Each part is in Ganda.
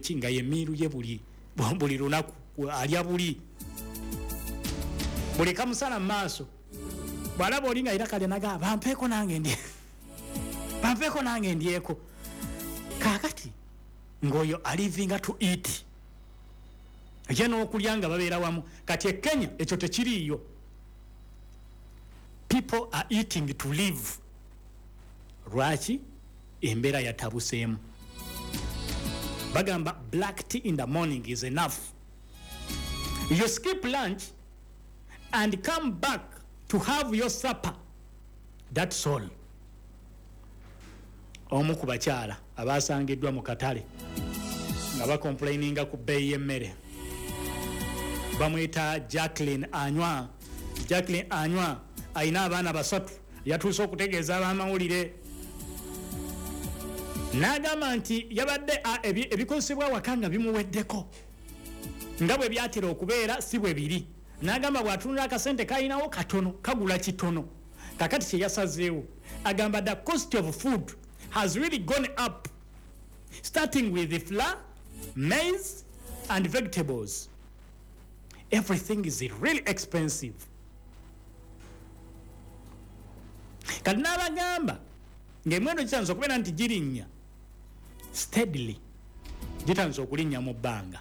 biki nga yemiiru ye buli buli lunaku alya buli buli kamusala mu maaso. Bw'alaba oli nga era kalya naga bampeeko nange ndye, bampeeko nange ndyeko. Kaakati ng'oyo alivinga to eat, ye n'okulya nga babeera wamu. Kati e Kenya ekyo tekiriiyo. People are eating to live. Lwaki? Embeera yatabuseemu. Bagamba black tea in the morning is enough. You skip lunch and come back to have your supper, that's all. Omu ku bakyala abasangiddwa mu katale nga bakomplaininga ku bbeeyi y'emmere bamuyita Jacqueline Anywa. Jacqueline Anywa alina abaana 3. Yatuuse okutegeeza ab'amawulire n'agamba nti yabadde ebikozesebwa awaka nga bimuweddeko nga bwe byatera okubeera si bwe biri. N'agamba bw'atunula akasente kalinawo katono, kagula kitono. Kakati kye yasazeewo, agamba the cost of food has really gone up, starting with the flour, maize and vegetables. Everything is really expensive. Kati n'abagamba ng'emiwendo gitandise okubeera nti girinnya steadily, gitandise okulinnya mu bbanga.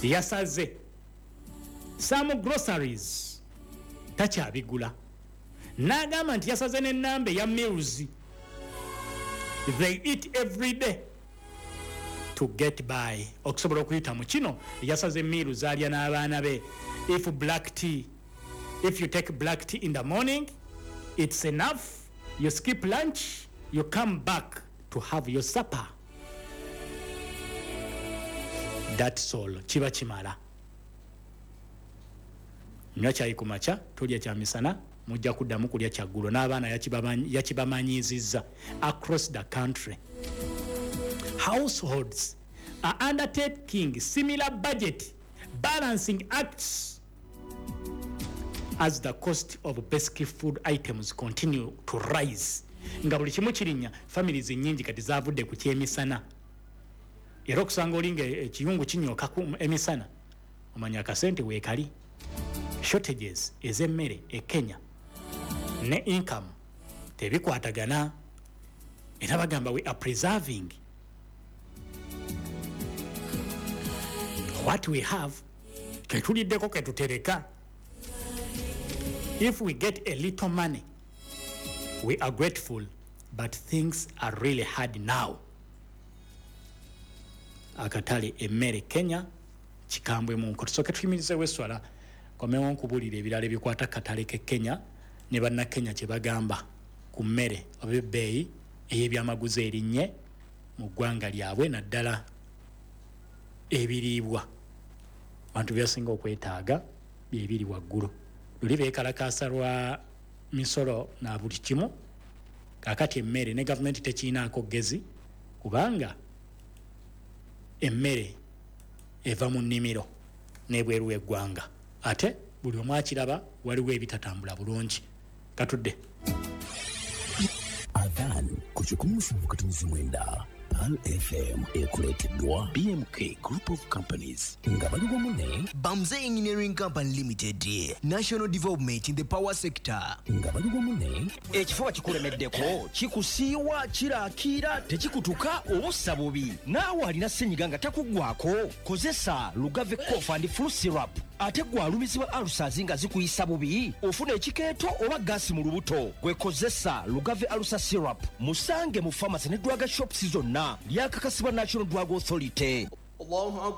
Yasaze some groceries takyabigula. N'agamba nti yasaze n'ennamba eya meals they eat every day to get by. Okusobola okuyita mu kino yasaze meal z'alya n'abaana be. If black tea, if you take black tea in the morning, it's enough. You skip lunch, you come back to have your supper, that's all. Kiba kimala. Nywa kyayi ku makya, tolya kya misana, mujja kuddamu kulya kyaggulo. N'abaana yakibamanyiizizza. Across the country, households are undertaking similar budget balancing acts as the cost of basic food items continue to rise. Nga buli kimu kirinnya, families nnyingi kati zavudde ku kyemisana. Era okusanga oli nga ekiyungu kinyooka ku emisana, omanya akasente weekali. Shortages ez'emmere e Kenya ne income tebikwatagana. Era bagamba we are preserving what we have, ketuliddeko ketutereka. If we get a little money, we are grateful, but things are really hard now. Akatale emmere Kenya kikambwe mu nko. Tusooke tuyimirizeewo esswala, komewo nkubuulira ebirala ebikwata katale ke Kenya ne bannakenya kye bagamba ku mmere oba ebbeeyi ey'ebyamaguzi erinnye mu ggwanga lyabwe, naddala ebiriibwa. Abantu byasinga okwetaaga byebiri waggulu. Luli beekalakaasa lwa misolo na buli kimu, kaakati emmere ne gavumenti tekiinaako ggezi, kubanga emmere eva mu nnimiro n'ebweru w'eggwanga, ate buli omu akiraba waliwo ebitatambula bulungi. Katudde. Adhan ku 107.9 Pearl FM ekuleeteddwa BMK Group of Companies nga bali wamu ne Bamze Engineering Company Limited, National Development in the Power Sector. Nga bali wamu ne Ekifuba kikulemeddeko, kikusiiwa, kirakiira, tekikutuka oba bubi. Naawe alina ssenyiga nga takuggwako, kozesa Lugave Cough and Flu Syrup. Ate gwe alumizibwa ulcers nga zikuyisa bubi, ofuna ekikeeto oba gaasi mu lubuto, gwe kozesa Lugave Ulcer Syrup. Musange mu pharmacy ne drug shops zonna. Lyakakasibwa National Drug Authority. Allahu.